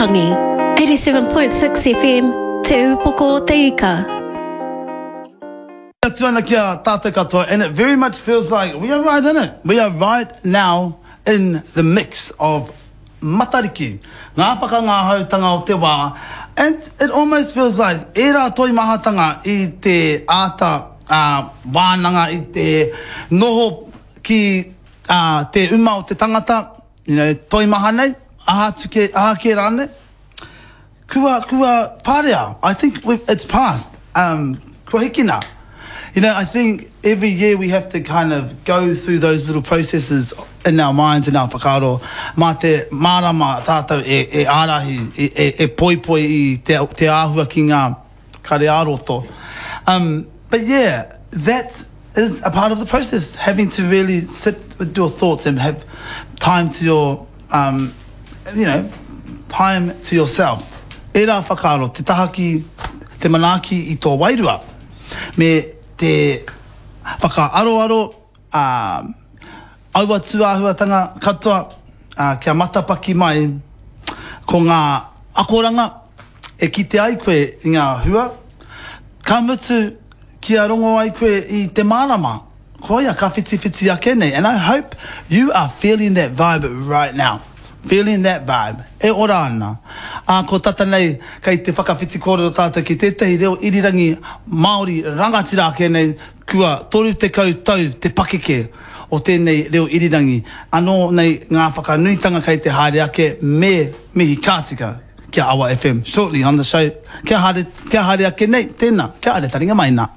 Waitangi. 87.6 FM, Te Upoko o Te Ika. Atu ana ki a tātou katoa and it very much feels like we are right in it. We are right now in the mix of Matariki, ngā whakangahautanga o te wā and it almost feels like ērā toimahatanga i te āta wānanga i te noho ki te uma o te tangata, you know, toimaha nei, aha atu kē, aha kē rānei. Kua, kua parea, I think we've, it's past, um, kua hikina. You know, I think every year we have to kind of go through those little processes in our minds and our whakaaro, mā te mārama tātou e, e ārahi, e, e, e poipoi i te, te āhua ki ngā kare ā-roto. Um, but yeah, that is a part of the process, having to really sit with your thoughts and have time to your, um, you know, time to yourself. Ērā whakaaro, te taha ki te manaaki i tō wairua, me te whakaaroaro, ā, aua tūāhuatanga katoa, ā, kia matapaki mai ko ngā akoranga e kite ai koe i ngā hua, ka mutu kia rongo ai koe i te mārama, koia ka whitiwhiti ake nei and I hope you are feeling that vibe right now, feeling that vibe, e ora ana. Ā, ko tata nei kei te whakawhiti kōrero tātou ki tētahi reo irirangi Māori rangatira ake nei, kua 30 tau te pakeke o tēnei reo irirangi, anō nei ngā whakanuitanga kei te haere ake me mihi ka tika ki a Awa FM shortly on the show. Kia haere, kia haere ake nei, tēnā, kia haere taringa mai nā.